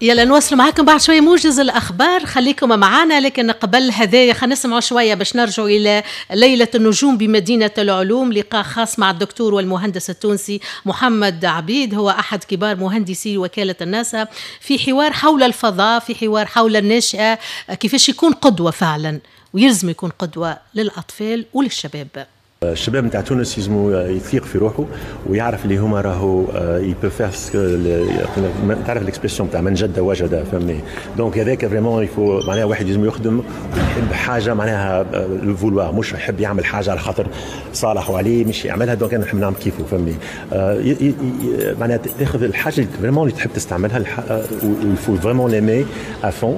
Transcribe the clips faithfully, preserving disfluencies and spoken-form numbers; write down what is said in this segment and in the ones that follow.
يلا نواصل معاكم بعد شوية موجز الأخبار، خليكم معنا. لكن قبل هذايا خلينا نسمعوا شوية باش نرجعوا إلى ليلة النجوم بمدينة العلوم، لقاء خاص مع الدكتور والمهندس التونسي محمد عبيد، هو أحد كبار مهندسي وكالة الناسا، في حوار حول الفضاء، في حوار حول الناشئة، كيفاش يكون قدوة فعلا ويلزم يكون قدوة للأطفال وللشباب. الشباب نتاع تونس يلزمو يثيق في روحه ويعرف اللي هما راهو il peut faire، تعرف l'expression تاع من جد وجد، فهمني؟ donc هذاك vraiment il faut معناها واحد لازم يخدم ويحب حاجة، معناها le vouloir، مش يحب يعمل حاجة على خاطر صالح وعليه مش يعملها، donc انا نحب نعمل كيفه، فهمني؟ معناها تاخذ الحاجة اللي vraiment اللي تحب تستعملها، il faut vraiment l'aimer à fond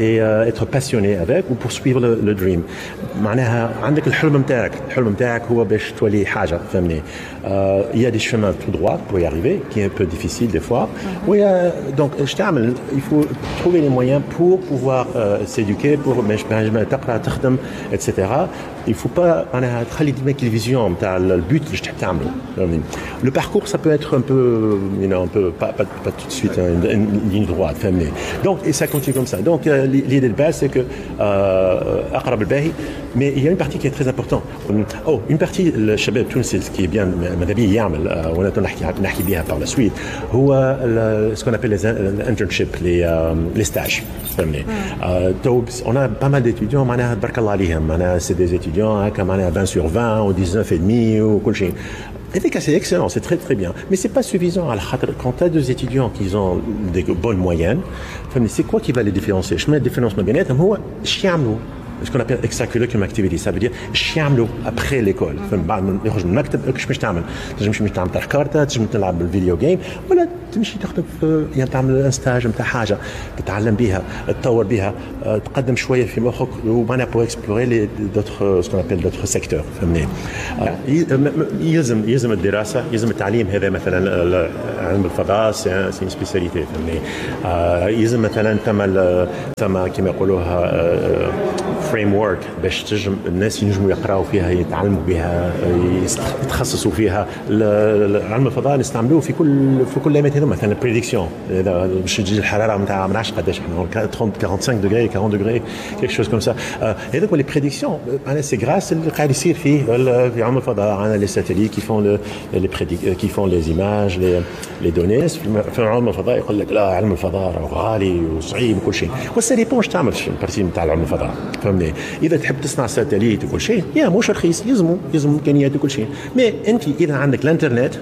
et être passionné avec و poursuivre le dream. معناها عندك الحلم نتاعك، الحلم نتاعك هو باش تولي حاجة، فهمني؟ Il y a des chemins tout droit pour y arriver qui est un peu difficile des fois. Oui, donc اش تعمل؟ il faut trouver les moyens pour pouvoir euh, s'éduquer، pour باش تقرا تخدم et cetera. Il faut pas معناها تخلي ديما ال vision نتاع ال but اللي تحب تعمله، فهمني؟ Le parcours ça peut être un peu you know un peu pas pas, pas tout de suite une, une ligne droite، فهمني؟ Donc et ça continue comme ça. Donc l'idée de base c'est que اقرب الباهي، mais il y a une partie qui est très importante. Oh, une partie الشباب التونسي ce qui est bien ماذا بيه يعمل، وانا نحكي نحكي بها par la suite، هو ce qu'on appelle les internships، les les stages، فهمني؟ تو on a pas mal d'étudiants معناها تبارك الله عليهم، معناها c'est des étudiants هكا معناها عشرين sur عشرين و تسعطاش ونص وكل شيء. هذيك c'est excellent، c'est très très bien، mais c'est pas suffisant على خاطر quand tu as deux étudiants qui ont des bonnes moyennes، فهمني؟ c'est quoi qui va les différencier؟ شنو ال différence ما بيناتهم؟ هو اش يعملوا، ce qu'on appelle extracurricular activity، ça veut dire اش يعملوا après l'école، بعد ما يخرج من المكتب اش باش تعمل؟ تنجم تمشي تعمل كارتا، تنجم تلعب بال video game، ولا تمشي تخدم في يعني تعمل un stage نتاع حاجة تتعلم بها، تطور بها، تقدم شوية في مخك، ومعناها pour explorer les d'autres ce qu'on appelle d'autres secteurs، فهمني؟ يلزم يلزم الدراسة، يلزم التعليم. هذا مثلا علم الفضاء c'est une spécialité، فهمني؟ يلزم مثلا ثم ثم كما يقولوها framework باش تنجم الناس ينجموا يقراوا فيها، يتعلموا بها، يتخصصوا فيها. علم الفضاء نستعملوه في كل في كل الايامات هذوما، مثلا prédiction باش تجي الحرارة نتاع ما نعرفش قداش احنا ثلاثين خمسة وأربعين degrés، أربعين degrés، quelque chose comme ça. هذوك les prédictions معناها c'est grâce اللي قاعد يصير فيه في علم الفضاء. عندنا les satellites qui font les prédic qui font les images، les les données. في علم الفضاء يقول لك لا علم الفضاء راهو غالي وصعيب وكل شيء، و ça dépend اش تعمل في ال partie نتاع علم الفضاء، فهمني؟ اذا تحب تصنع satellite وكل شيء يا مش رخيص، يلزمو يلزم امكانيات وكل شيء. mais انت اذا عندك الانترنت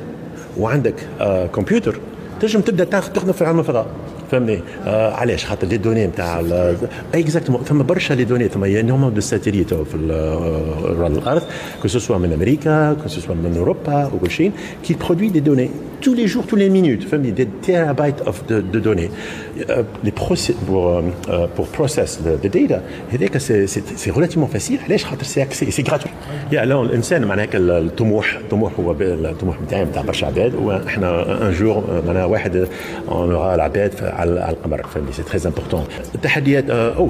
وعندك آه كمبيوتر تنجم تبدا تخدم في علم الفضاء، فهمني؟ آه علاش؟ خاطر les données نتاع exactement ثم برشا les données، ثم énormément de satellites في الارض، que ce soit من امريكا، que ce soit من اوروبا وكل شيء، qui produit des données tous les jours، toutes les minutes، فهمني؟ des terabytes of de, de données. Euh, les process pour euh, pour process the, the data هذاك c'est c'est relativement facile. علاش؟ خاطر c'est accès، c'est gratuit. يا لا الانسان معناها الطموح، الطموح هو الطموح نتاعي نتاع برشا عباد، واحنا un jour معناها واحد on aura العباد على القمر، فهمني؟ c'est très important. التحديات او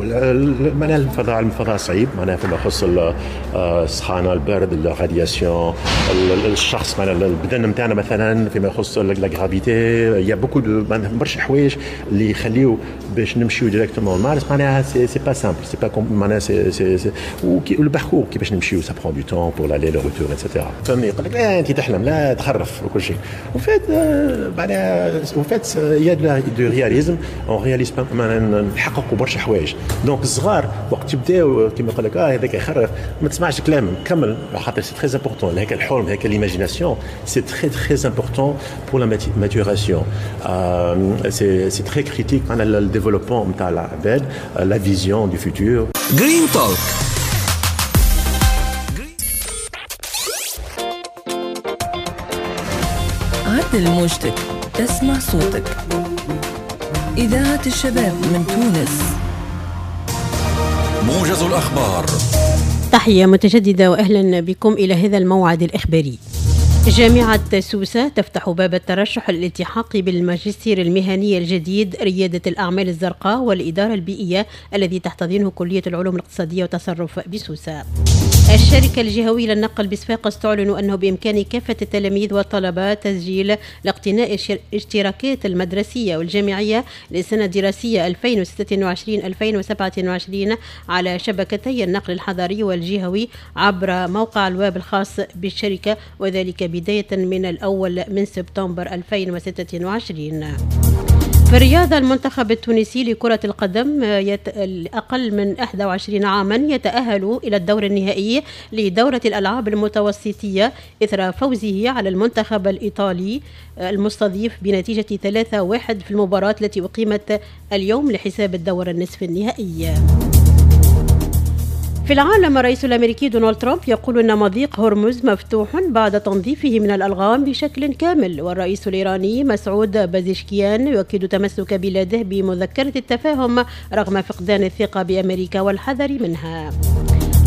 معناها الفضاء، الفضاء صعيب، معناها فيما يخص السخانه، البرد، ال radiation، الشخص معناها البدن نتاعنا مثلا فيما يخص la gravité، y a beaucoup de برشا حوايج اللي يخليو باش نمشيو directement Mars، معناها c'est c'est pas simple، c'est pas معناها c'est c'est c'est le parcours كيفاش نمشيو، ça prend du temps pour l'aller le retour et cetera، فهمني؟ يقول لك لا انت تحلم، لا تخرف وكل شيء. en fait معناها en fait y a du réalisme، on réalise معناها نحققوا برشا حوايج. donc الصغار وقت يبداو كيما يقول لك اه هذاك يخرف، ما تسمعش كلامهم، كمل، خاطر c'est très important هيك الحلم، هيك l'imagination، c'est très très important pour la maturation. Euh, c'est, c'est très critique pour le développement نتاع العباد، la vision du futur. Green Talk. عدل موجتك تسمع صوتك. إذاعة الشباب من تونس. موجز الأخبار. تحية متجددة وأهلا بكم إلى هذا الموعد الإخباري. جامعة سوسة تفتح باب الترشح للالتحاق بالماجستير المهني الجديد ريادة الأعمال الزرقاء والإدارة البيئية الذي تحتضنه كلية العلوم الاقتصادية والتصرف بسوسة. الشركة الجهوية للنقل بصفاقس تعلن أنه بإمكان كافة التلاميذ والطلبة تسجيل لاقتناء الاشتراكات المدرسية والجامعية للسنة الدراسية ألفين وستة وعشرين ألفين وسبعة وعشرين على شبكتي النقل الحضري والجهوي عبر موقع الويب الخاص بالشركة، وذلك بداية من الأول من سبتمبر ألفين وستة وعشرين. في الرياضة، المنتخب التونسي لكرة القدم يت... أقل من إحدى وعشرين عاما يتأهل إلى الدور النهائي لدورة الألعاب المتوسطية إثر فوزه على المنتخب الإيطالي المستضيف بنتيجة ثلاثة واحد في المباراة التي أقيمت اليوم لحساب الدور النصف النهائي. في العالم، الرئيس الأمريكي دونالد ترامب يقول أن مضيق هرمز مفتوح بعد تنظيفه من الألغام بشكل كامل، والرئيس الإيراني مسعود بازشكيان يؤكد تمسك بلاده بمذكرة التفاهم رغم فقدان الثقة بأمريكا والحذر منها.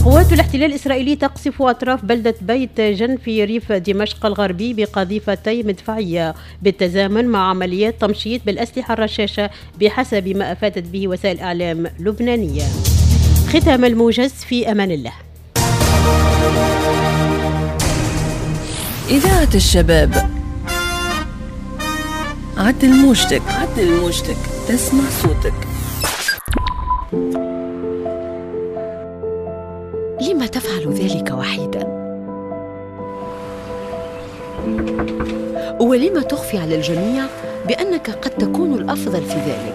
قوات الاحتلال الإسرائيلي تقصف أطراف بلدة بيت جن في ريف دمشق الغربي بقذيفتي مدفعية بالتزامن مع عمليات تمشيط بالأسلحة الرشاشة بحسب ما أفادت به وسائل إعلام لبنانية. ختام الموجز، في أمان الله. إذاعة الشباب، عدل موجتك، عدل موجتك، تسمع صوتك. لما تفعل ذلك وحيدا؟ ولما تخفي على الجميع بأنك قد تكون الأفضل في ذلك،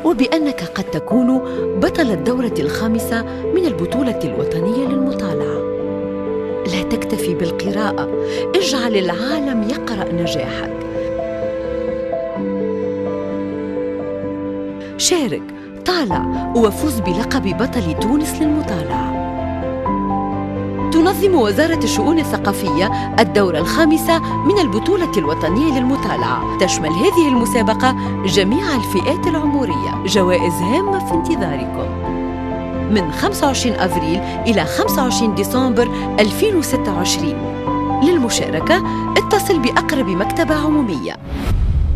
وبأنك قد تكون بطل الدورة الخامسة من البطولة الوطنية للمطالعة؟ لا تكتفي بالقراءة، اجعل العالم يقرأ نجاحك. شارك، طالع، وفوز بلقب بطل تونس للمطالعة. تنظم وزارة الشؤون الثقافية الدورة الخامسة من البطولة الوطنية للمطالعة. تشمل هذه المسابقة جميع الفئات العمرية. جوائز هامة في انتظاركم من خمسة وعشرين أفريل إلى خمسة وعشرين ديسمبر ألفين وستة وعشرين. للمشاركة اتصل بأقرب مكتبة عمومية.